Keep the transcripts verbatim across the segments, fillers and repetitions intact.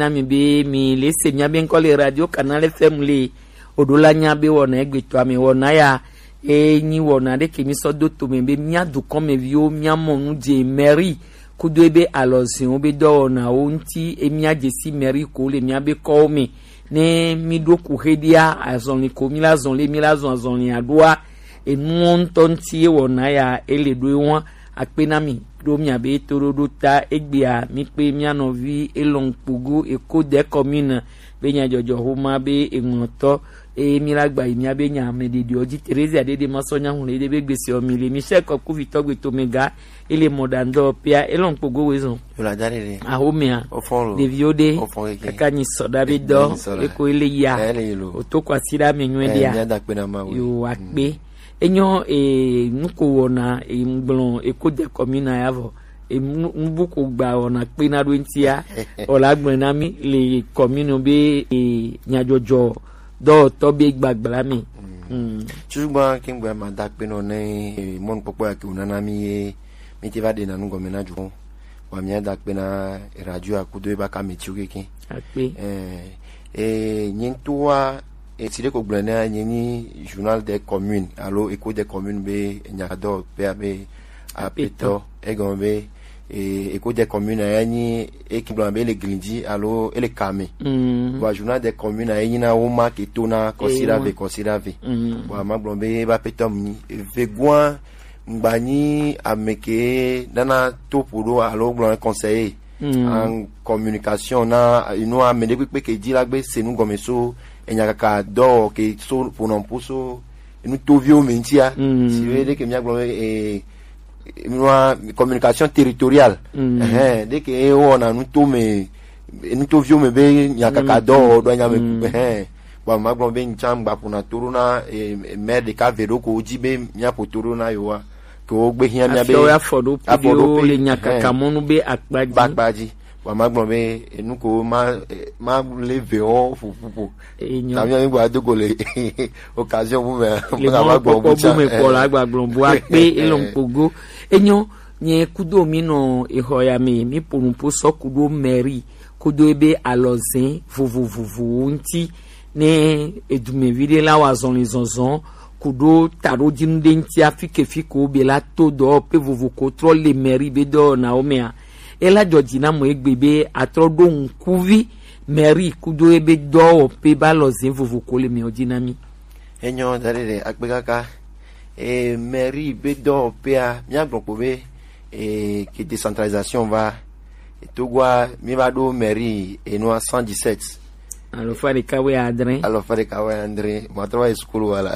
na mi be mi le se mia be ŋkɔ le Radio Canal F M le oɖo la nya be wɔna egbetɔ ame wɔna ya e nyi wɔna ɖe ke mi sɔ do to me be mia dukɔn me viwo mia mɔ nu dze mairie kudo ebe alɔzinwo be dɔwɔnawo ŋuti e mia dze si mairie ko le mia be kɔwo me ne mi ɖo ku xe ɖia azɔli ko mi la zɔn le mi la zɔn azɔli aɖoa enuwo ŋutɔ ŋuti e wɔna ya e le ɖo e wɔn akpe na mi ɖo miabe toɖoɖo ta egbea mi kpe mia nɔvi Elon Kpogo Eko de commune be nyadzɔdzɔ xoma be eŋlɔtɔ eye mi la gba yi miabe nya ame ɖeɖeɔ dzi Terezia ɖeɖe ma sɔ nya ŋlɔ ɖe be gbese ɔ mi le mi sɛ kɔ kuvitɔ gbe to me ga ele mɔ ɖa ŋdɔ pia Elon Kpogo we zɔn. Yola da ɖeɖe. Axomea. Ofɔn lo. Ɖeviwo ɖe. Ofɔn keke. Kaka nyi sɔ ɖa be dɔ. Nyi sɔ ɖa. Eko ele ya. Ele yi lo. Oto kɔ asi ɖa me nyuie ɖea. Mia da kpe na ma wo. Yo akpe. Enyɔ e nuko wɔna e ŋgblɔ eko de kɔmina ya vɔ e nu- nubu ko gba wɔna kpe na ɖo ŋtia ɔla gblɔ na mi le kɔmino be e nyadzɔdzɔ dɔwɔtɔ be gbagbla mi. Mm. Tsutsu gba ke ŋgbe ma da kpe nɔ ne e mɔnukpɔkpɔ ya ke wona na mi ye mi te va ɖe na nu gɔme na dzo wa mia da kpe na radio akudo e ba ka mi tsi keke. Akpe. Eh, eh, nye ŋutɔa, eh, si ɖe ko gblɔ ne nye nyi journal des communes alo Echo des communes be nyadɔ pe abe apetɔ egɔme be eh, Echo des communes ya nyi eki gblɔ be le glidzi alo ele kame. Mm. Wa journal des communes ya nyi na wo ma ke to na kɔsira ve kɔsira ve. Mm. Wa ma gblɔ be ba petɔ mi ve gua ngba nyi ame ke nana to ƒo ɖo alo gblɔ conseiller. Mm. En communication na inu ame ɖe kpekpe ke dzi la gbe se nu gɔme so enya kaka dɔ ke so ƒonɔ ƒu so enu toviwo me ŋutia. Mm. Si be ɖe ke mia gblɔ be eh, nua communication territoriale. Mm. Ɛhɛn, ɖe ke wɔna nu to me nu toviwo me be nya kaka dɔ wɔ ɖo anya me. Mm. Ɛhɛn. Bon, ma gblɔ be ŋtsã ŋgba ƒona to ɖo na eh, maire ɖeka ve ɖo ko dzi be mia ƒo to ɖo na yewoa ke wo gbe hiã mia be afɔɖoƒe ɖewo le nya kaka mɔnu be akpa dzi. Akpa dzi. Wa ma gblɔ be enu ko ma eh, ma le ve wo ƒoƒoƒo. Enyo. Tami mi gba do go le occasion bu me. Le ma gba kpɔkpɔ bu me kpɔ la gba gblɔ bu akpe elɔn kpogo. Enyo nye kudo mi nɔ exɔ ya me mi ƒo nu ƒo sɔ kudo mairie kudo ebe alɔzɛ vovovovowo ŋuti ne edumevi ɖe la wa zɔli zɔzɔ kudo taɖodinu ɖe ŋuti afi ke fi ko be la to dɔ pe vovo ko trɔ le mairie be dɔwɔnawo mea ela dzɔ dzi na mɔ egbe be atrɔ ɖo ŋkuvi mairie kudo ebe dɔwɔƒe ba lɔ zɛ vovo ko le mɛwo dzi na mi. Enyo da ɖe ɖe akpe kaka. E mairie be dɔwɔƒea mia gblɔ kpo be e ke décentralisation va. Togoa mi va ɖo mairie enua cent dix-sept. Alɔfa ɖeka wɛ adre. Alɔfa ɖeka wɛ adre. Matrɔ wa sukulu wala.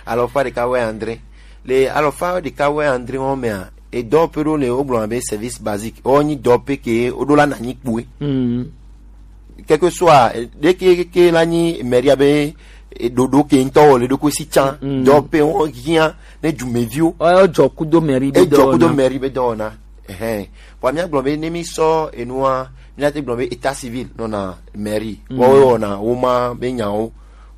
Alɔfa ɖeka wɛ adre. Le alɔfa ɖeka wɛ adre wɔn mɛa edɔ pe ɖo le wo gblɔ be service basique wo nyi dɔ pe ke wo ɖo la na nyi kpue. Mm. Quelque soit ɖeke ke la nyi mairie be ɖoɖo ke ŋutɔ wo le ɖo ko si can. Mm. Dɔ pe wo hiã ne dumeviwo. Ɔ jɔ kudo mairie be dɔ na. Ejɔ kudo mairie be dɔ na. Ɛhɛn. Bɔn mia gblɔ be ne mi sɔ enua mi na te gblɔ be état civil nɔ na mairie. Mm. Wɔwɔ na wo ma be nyawo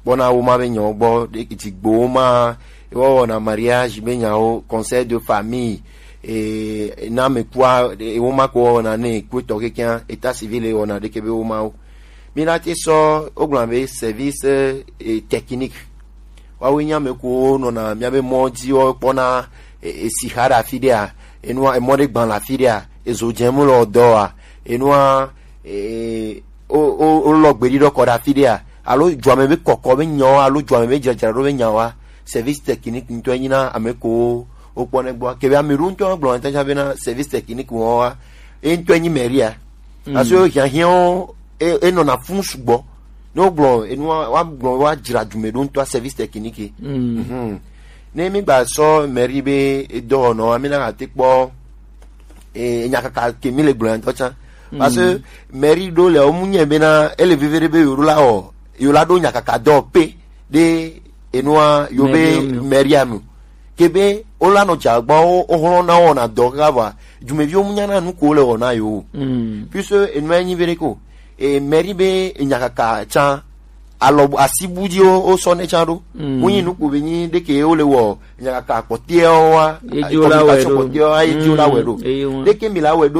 gbɔna wo ma be nyawo gbɔ ɖe dzigbo wo ma ewɔ wɔna mariage be nyawo conseil de famille e na me kua e wo ma ko wɔna ne kue tɔ kekea état civil e wɔna ɖeke be wo ma wo mi na te sɔ wo gblɔ be service e technique wawo nya me ko nɔna mia be mɔ dzi wo kpɔna e, e si xa ɖe afi ɖea enua emɔ ɖe gbã le afi ɖea ezo dze mu le dɔ wa enua e o o o lɔ gbeɖi ɖɔ kɔ ɖe afi ɖea alo dzuame be kɔkɔ be nyawo alo dzuame be dzradzra ɖo be nyawoa service technique ŋutɔ enyi na ame ko wo kpɔ ne gbɔ ke be ame ɖo ŋutɔ gblɔ ŋutɔ tsã be na service technique wɔn wa e ŋutɔ enyi mairie a. Mm. Parce que hiahiãwo e enɔna fun sugbɔ ne wo gblɔ enua wa gblɔ wa dzra dume ɖo ŋutɔ service technique. Mm. Mhm. Ne mi gba sɔ mairie be dɔwɔnɔ wa mi na ate kpɔ e enya kaka ke mi le gblɔ ŋutɔ tsã. Parce que mairie ɖo le wo mu nyɛ bena ele veve ɖe be yewo la wɔ yewo la ɖo nya kaka dɔ pe ɖe enua yo be mairie me ke be wo la nɔ dza gbɔ wo wo hlɔ̃ na wɔna dɔ kaka vɔa dumeviwo mu nya na nu ko wo le wɔ na yewo. Mm. Puisque enua nyi be ɖe ko e mairie be enya kaka tsã alɔ asi bu dzi wo wo sɔ ne tsã ɖo. Mm. Wo nyi nu ko be nyi ɖe ke wo le wɔ nya kaka kpɔtɛwo wa. Ye dzi wo la wɛ ɖo. Kpɔtɛwo wa ye dzi wo la wɛ ɖo. Mm. Ɖe ke mi la wɛ ɖo